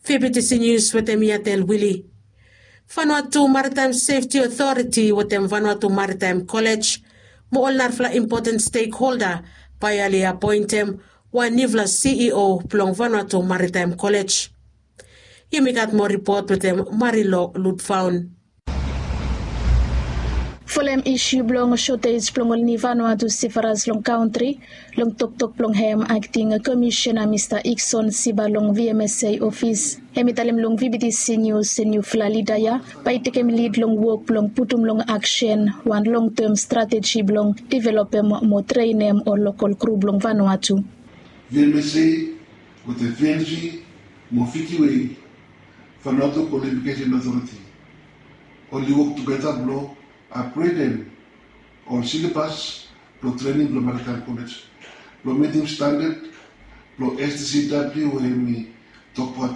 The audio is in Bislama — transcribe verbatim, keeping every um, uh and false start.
Fibitisi nius wetem yatel wili. Vanuatu Maritime Sefti Otoriti wetem Vanuatu Maritime Kolej mo ol narafala impoten stekholda bae oli apoentem wan niufala CEO blong Vanuatu Maritime Kolej. Yumi gat moa ripot wetem Marilo Ludfaun. Folem isu blong sotej blong ol ni Vanuatu sifaras long kantri, long toktok blong hem akting komisiona Mista Ikson Siba long VMSA ofis, hem i talem long VBTC Nius se niufala lida ya bae i tekem lid long wok blong putum long aksen wan longtem strateji blong developem mo trenem ol lokol kru blong Vanuatu. VMSA wetem VNV mo Fiti Wei, Vanuatu Qualification Authority, oli wok tugeta blong apgredem ol silabas blong trening blong Maritime Kolej blong mitim standad blong STCW we hemi